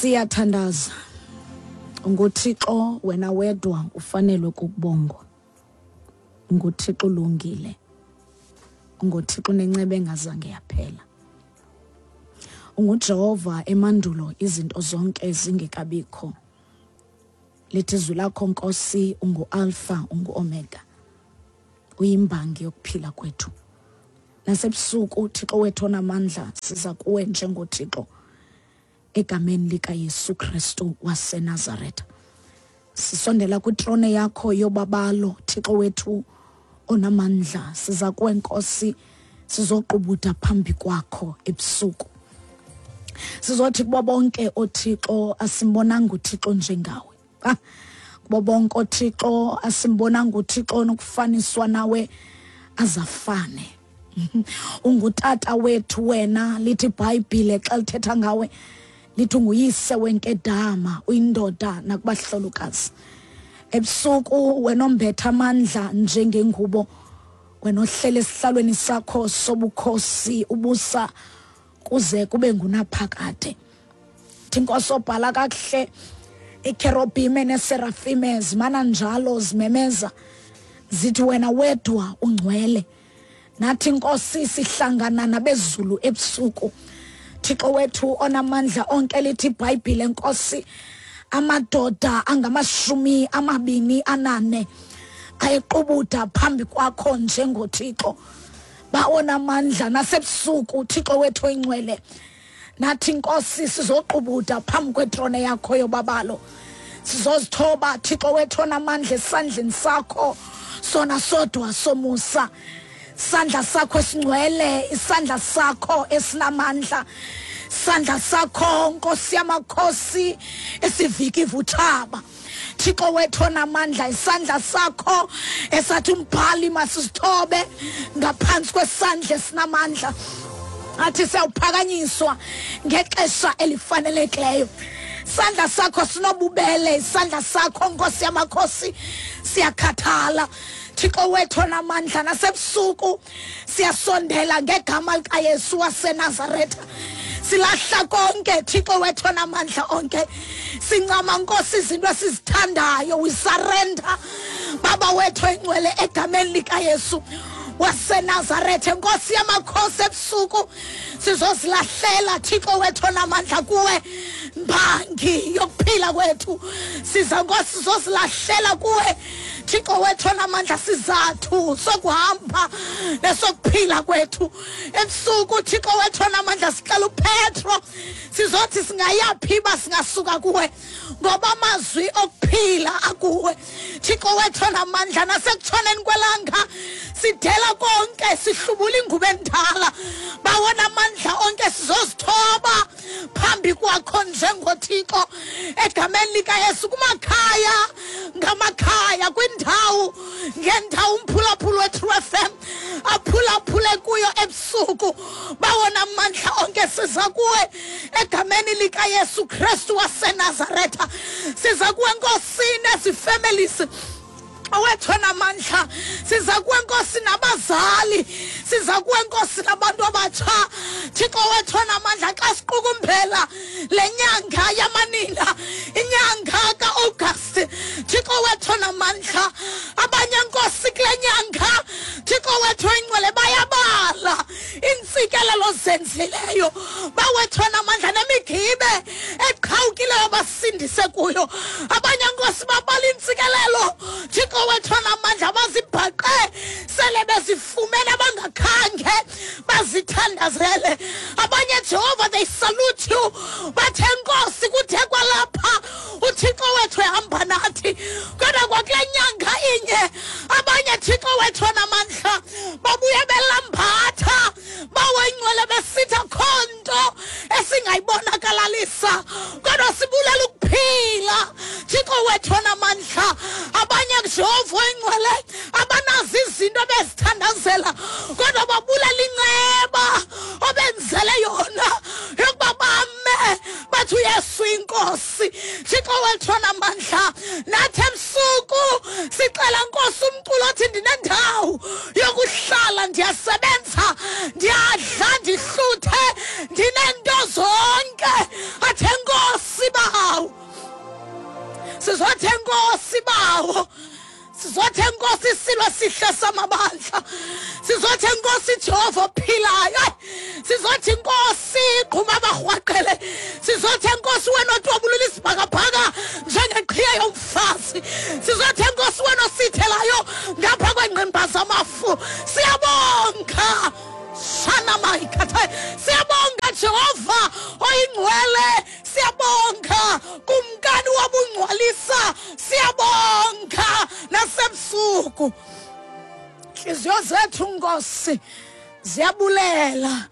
Siyathandaza. NguThixo wena wedwa ufanelwe kukubongwa. NguThixo ulungile. NguThixo nenceba engazange yaphela. UnguJehova emandulo izinto zonke zingekabikho. Lithi izwi lakho Nkosi unguAlpha unguOmega. Uyimbangi yokuphila kwethu. Nasebusuku Thixo wethu onamandla siza kuwe njengoThixo egameni likaYesu Kristu waseNazaretha. Sisondela kwitrone yakho yobabalo Thixo wethu onamandla, siza kuwe Nkosi, sizoqubuda phambi kwakho ebusuku. Sizothi kubo bonke oThixo asimbonanga uThixo njengawe. Kubo bonke oThixo asimbonanga uThixo onokufaniswa nawe azafane. Ungutata wethu wena, lithi iBhayibhile xa lithetha ngawe lithi unguyise wenkedama, uyindoda nakubahlolokazi. Ebusuku wena ombetha amandla njengengubo, wena ohlele esihlalweni sakho sobukhosi ubusa kuze kube ngunaphakade. Thi Nkosi obhala kakuhle, ikerubime neserafime zimana njalo zimemeza zithi wena wedwa ungcwele. Nathi Nkosi sihlangana nabezulu ebusuku. Thixo wethu onamandla onke, lithi iBhayibhile Nkosi, amadoda angama-24 ayequbuda phambi kwakho njengoThixo. Bawona amandla nasebusuku Thixo wethu oyingcwele. Nathi Nkosi sizoqubuda phambi kwetrone yakho yobabalo. Sizozithoba Thixo wethu onamandla esandleni sakho sona sodwa somusa. Sandla sakho esingcwele, isandla sakho esinamandla, sandla sakho Nkosi yamakhosi esivika ivuthaba. Thixo wethu onamandla, isandla sakho esathi umbhali masisithobe ngaphansi kwesandla esinamandla, athi siyawuphakanyiswa ngexesha elifanelekileyo. Isandla sakho sinobubele, isandla sakho Nkosi yamakhosi siyakhathala. Thixo wethu onamandla, nasebusuku siyasondela ngegama likaYesu waseNazaretha. Silahla konke Thixo wethu onamandla onke, sincama Nkosi izinto esizithandayo, we surrender Baba wethu oyingcwele egameni likaYesu waseNazaretha. Nkosi yamakhosi, ebusuku sizozilahlela Thixo wethu onamandla kuwe, mbangi yokuphila kwethu. Siza Nkosi sizozilahlela kuwe Thixo wethu onamandla, sizathu sokuhamba nesokuphila kwethu. Ebusuku Thixo wethu onamandla sicela uPetro, sizothi singayaphi ba singasuka kuwe, ngoba amazwi okuphila akuwe Thixo wethu onamandla. Nasekutshoneni kwelanga sidela konke, sihlubula ingubo endala, bawona amandla onke, sizozithoba phambi kwakho njengoThixo egameni likaYesu. Kumakhaya ngamakhaya, kwindawo ngendawo umphulaphula weTrue FM aphulaphule kuyo ebusuku, bawona amandla onke, siza kuwe egameni likaYesu Kristu waseNazaretha. Siza kuwe Nkosini ezifamilies owethu onamandla, siza kuwe Nkosi nabazali, siza kuwe Nkosi nabantu abatsha. Thixo wethu onamandla, xa siqukumbela le nyanga yamanina, inyanga ka-August, Thixo wethu onamandla, abanye Nkosi kule nyanga Thixo wethu oyingcwele bayabala iintsikelelo zenzileyo, bawethu onamandla, nemigibe eqhawukileyo basindise kuyo. Abanye Nkosi babala iintsikelelo Thixo wethu onamandla bazibhaqe sele bezifumene abangakhange bazithandazele. Abanye Jehova, they salute you, bathe Nkosi kuthe kwalapha uThixo wethu ehamba nathi, kodwa kwakule nyanga inye abanye Thixo wethu onamandla babuye belambatha, bawengcwele, besithi akho nto esingayibonakalalisa, kodwa sibulela ukuphila Thixo wethu onamandla. Abanye Jehova oyingcwele abanazo izinto ebezithandazela, kodwa babulela inceba obenzele yona yokuba bame bathi uYesu inkosi. Thixo wethu onamandla, nathi ebusuku sicela Nkosi umculo othi ndinendawo yokuhlala, ndiyasebenza, ndiyadla, ndihluthe, ndinento zonke, athe Nkosi ba Sizothe nkosi bawo, sizothe nkosi isilo sihle samabandla, sizothe nkosi Jehova ophilayo, sizothi nkosi gquma abarhwaqele, sizothe nkosi wena otwabulula isibhakabhaka njengeqhiya yomfazi, sizothe nkosi wena osithelayo ngapha kwengqimba zamafu. Siyabonga shana mayikhatha, siyabonga Jehova oyingcwele, siyabonga kumkani wobungcwalisa, siyabonga nasebusuku. Intliziyo zethu nkosi ziyabulela.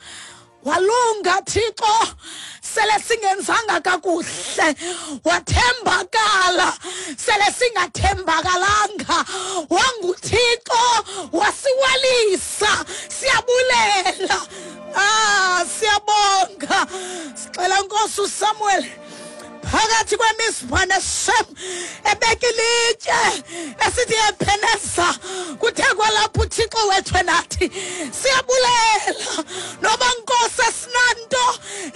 Walunga Thixo, sele singenzanga kakuhle, wathembakala sele singathembakalanga, wanguThixo wasiwelisa. Siyabulela, siyabonga. Sixela nkosi uSamuel phakathi kwemisipha neshem ebeka ilitye esithi Ebeneza, kuthe kwalapho uThixo wethu enathi. Siyabulela noba nkosi esinanto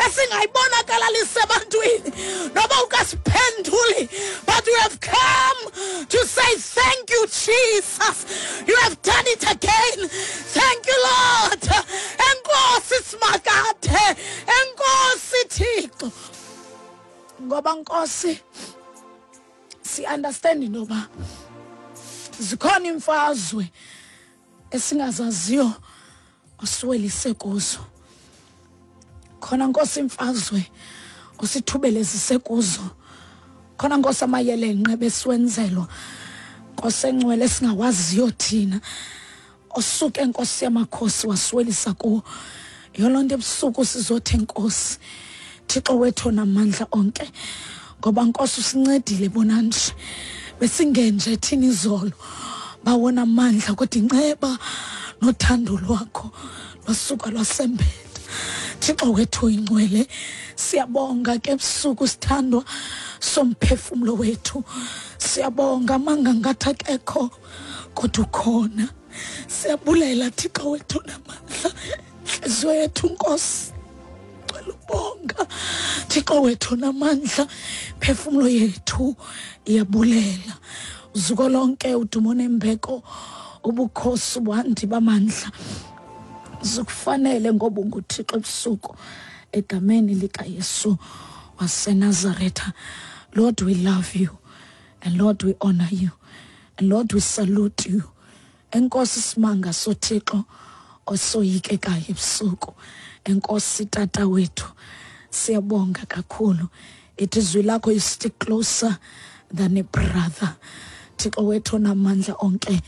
esingayibonakalalisa ebantwini, noba ukasiphenduli, but we have come to say thank you Jesus, you have done it again, thank you Lord. Enkosi simakade, enkosi Thixo, ngoba nkosi si understand noba zikhona imfazwe esingazaziyo osiwelise kuzo, khona nkosi imfazwe osithubelezise kuzo, khona nkosi amayelenqe besiwenzelwa nkosi engcwele esingawaziyo thina, osuke nkosi yamakhosi wasiwelisa kuwo. Yiyo loo nto ebusuku sizothe nkosi Thixo wethu onamandla onke, ngoba nkosi usincedile bona nje besingenje thina izolo bawona amandla, kodwa inceba nothando lwakho lwasuka lwasembetha. Thixo wethu oyingcwele, siyabonga ke ebusuku sithandwa somphefumlo wethu, siyabonga amanga ngathi akekho kodwa ukhona. Siyabulela Thixo wethu namandla, nhliziyo yethu nkosi cela ubonga Thixo wethu namandla, phefumulo yethu iyabulela. Uzuko lonke, udumo nembeko, ubukhosi, ubuhandi bamandla zikufanele ngoba unguThixo ebusuku, egameni likaYesu waseNazaretha. Lord, we love you, and Lord, we honor you, and Lord, we salute you. Enkosi simanga soThixo osoyikekayo ebusuku. Enkosi tata wethu, siyabonga kakhulu. Ithi izwi lakho, you stick closer than a brother. Thixo wethu onamandla onke,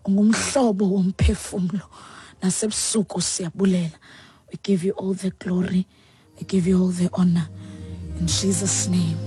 ungumhlobo womphefumlo, nasebusuku siyabulela. We give you all the glory, we give you all the honor, in Jesus' name.